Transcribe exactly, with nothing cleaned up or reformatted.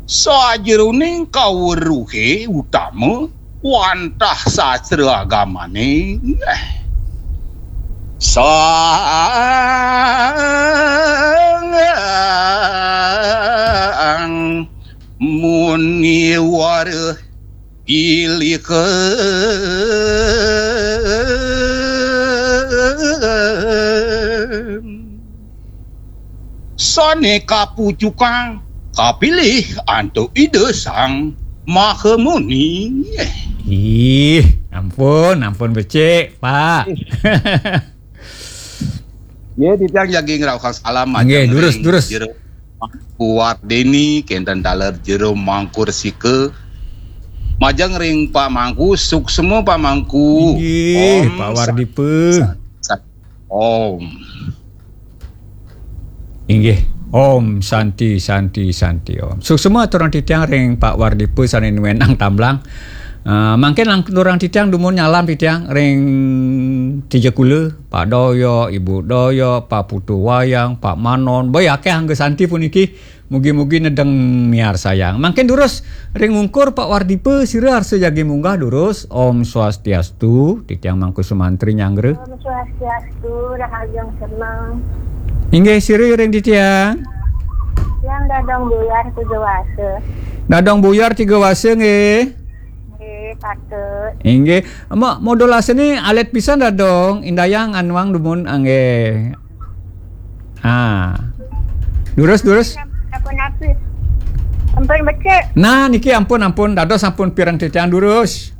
Sajeroning kaweruhe utama wantah sastra agamane, sang muniwara pilih sane kapucukang, kapilih antuk Ida Sang Maha Muni. Ih, ampun, ampun becik, Pak. Ya, titiang jagi ngrauhang salam. Nggih, durus, durus. Kuwardini kenten taler jero mangkursika. Majeng ring Pak Mangku, suksma Pak Mangku. Inggih, Pak Wardipa. Om. Inggih. Om Santi, Santi, Santi, Om. Suksma aturang titiang ring Pak Wardipa sane nuenang tamblang. Uh, mangkin langkung titiang dumun nyalam titiang ring Tijakula, Pak Doyo, Ibu Doyo, Pak Putu Wayang, Pak Manon. Boy akeh angga Santi puniki. Mugi-mugi nedeng miarsayang. Mangkin durus ring ungkur Pak Wardipa sira arsa jagi munggah durus. Om Swastiastu, titiang Mangku Sumantri nyanggra. Om Swastiastu, rahajeng seneng. Inggih sira ring titiang. Yang dadong buyar tiga wasa. Dadong buyar tiga wasa nggih. Nggih, patut. Inggih. Mo modulasine alit pisan dadong indayang anuang dumun nggih. Ah. Durus, durus. Apa napi? Ampun becik. Nah, niki ampun, ampun. Dados sampun pireng titiang durus.